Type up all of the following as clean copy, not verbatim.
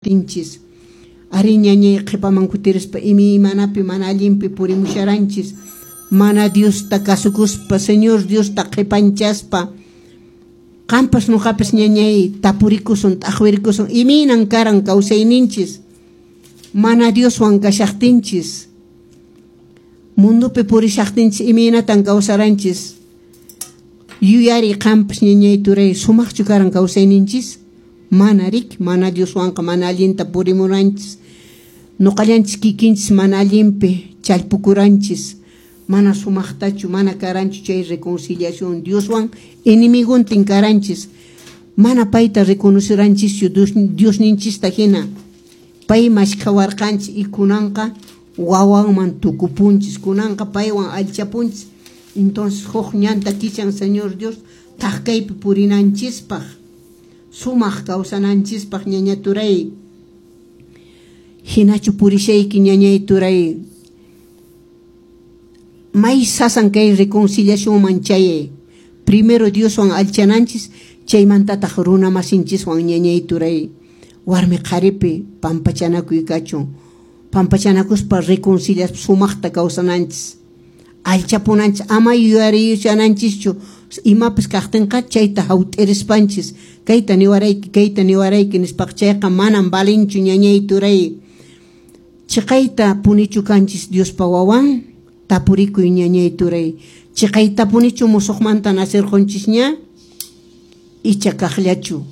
kashaqtinchis. Ari ñañay qhipaman kutirispa imaymanapi mana allinpi purimusharanchis, mana Diosta kasukuspa, Señor Diosta qhipanchaspa. Qampas nuqapas ñañay tapurikusun, t'aqwirikusun, imaynan karan kawsayninchis mana Dioswan kashaqtinchis, mundupi purishaqtinchis imaynatan kawsaranchis. Yuyari qampas ñañay turay, sumaqchu karan kawsayninchis? Mana rik, mana Dioswanqa mana allinta purimuranchis, nuqallanchis kikinchis mana allinpi challpukuranchis, mana sumaqtachu, mana karanchu chay reconciliación Dioswan enemigontin karanchis, mana payta reconoceranchischu Diosninchista hina, pay mashkhawarqanchis y kunanqa wawanman tukupunchis, kunanqa paywan allchapunchis. Entonces huk ñanta kichan Señor Dios thaqkaypi purinanchispaq, sumaq kawsananchispaq ñaña turay. Hinachu purishayki ñañay turay, may sasan kay reconciliacionman chayay. Primero Dioswan allchananchis, chaymantataq runa masinchiswan ñañay turay. Warmi qharipi pampachanakuy kachun, pampachanakuspa reconciliaspa sumaqta kawsananchis, allchapunanchis, ama yuyariyushananchischu imapas kaqtinqa chayta hawt'irispanchis, kayta niwarayki, kayta niwarayki nispaqa chayqa manan valinchu ñañay turay. Chiqayta punichu kanchis Diospa wawan? Tapurikuy ñañay turay. Chiqayta punichu musuqmanta nacirqunchis ña? Icha kaqllachu?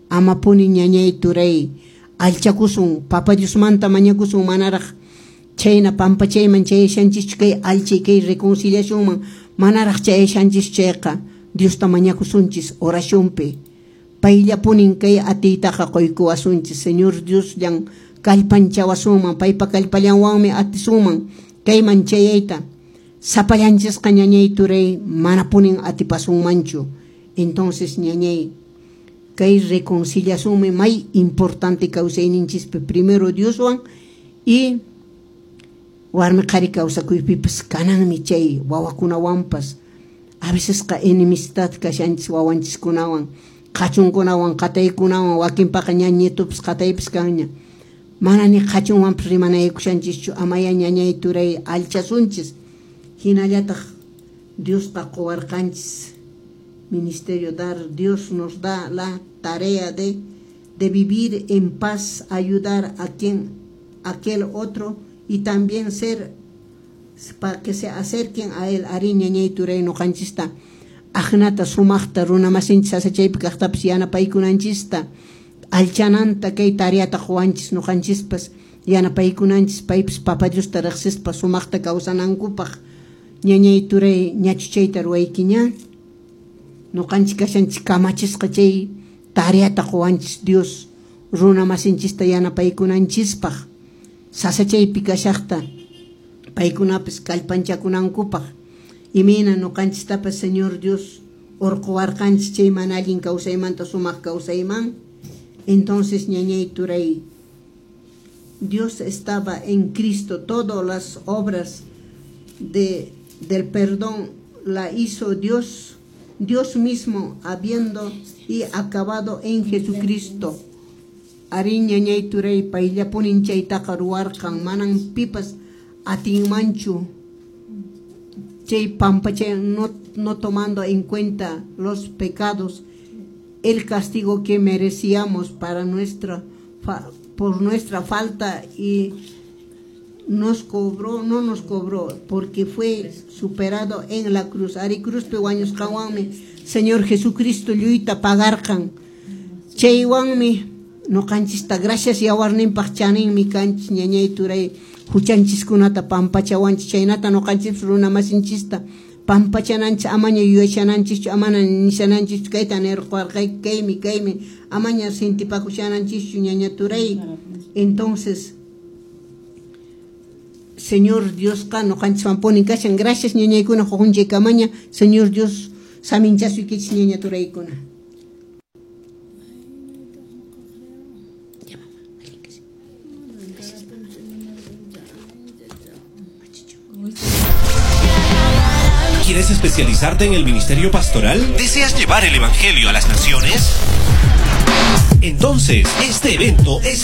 Ama puni ñañay turay, allchakusun, Papa Diosmanta mañakusun manaraq chayna pampachayman chayashanchischu kay allchay kay reconciliacionman manaraq chayashanchischu chayqa Diosta mañakusunchis oracionpi. Payllapunin kay atiytaqa quykuwasunchis, Señor Diosllan kallpanchawasunman, paypa kallpallanwanmi atisunman kayman chayayta. Sapallanchisqa ñañay turay manapunin atipasunmanchu. Entonces ñañay, kay reconciliacionmi may importante kawsayninchispi, primero Dioswan y warmi qhari kawsakuypipas kananmi chay wawakunawanpas. A vecesqa enemistad kashanchis wawanchiskunawan, qhachunkunawan, qataykunawan, wakinpaqa ña nietupas qataypas kanña. Mana ni qhachunwanpas rimanaykushanchischu, amaya ñañay turay allchasunchis. Hinallataq Diosqa quwarqanchis ministerio dar, Dios nos da la tarea de vivir en paz, ayudar a quien, aquel otro y también ser para que se acerquen a él. Ari ñañay turay nuqanchista aqnata sumaqta runa masinchis sasachaypi kaqtapas yanapaykunanchista, allchananta kay tareata quwanchis nuqanchispas yanapaykunanchis, paypas Papa Diosta riqsispa sumaqta kawsanankupaq. Ñañay turay ñachu chayta ruwayki ña? Nuqanchis kashanchis kamachisqa chay tareata quwanchis Dios runa masinchista yanapaykunanchispaq, sasachaypi kashaqta paykunapas kallpanchakunankupaq. Imayna nuqanchistapas Señor Dios urquwarqanchis chay mana allin kawsaymanta sumaq kawsayman. Entonces ñañay turay, Dios estaba en Cristo, todas las obras del perdón la hizo Dios, Dios mismo habiendo y acabado en Jesucristo. Ari ñañay turay payllapunin chaytaqa ruwarqan, manan pipas atinmanchu chay pampachay, no tomando en cuenta los pecados, el castigo que merecíamos para por nuestra falta, y nos cobró, no nos cobró, porque fue superado en la cruz. Ari cruzpi wañusqanwanmi Señor Jesucristo lluyta pagarqan. Chaywanmi nuqanchista gracias yawarninpaq chaninmi kanchis ñañay turay, huchanchiskunata pampachawanchis, chaynata nuqanchis runa masinchista pampachananchis, amaña yuyashananchishchu, amana nishananchishchu kayta nirquwarqayki, kaymi, kaymi, amaña sintipakushananchishchu ñaña turay. Entonces Señor Diosqa nuqanchiswanpuni kashan. Gracias ñañaykuna huqunchaykamaña. Señor Dios saminchasuykichis ñaña turaykuna. ¿Quieres especializarte en el ministerio pastoral? ¿Deseas llevar el evangelio a las naciones? Entonces, este evento es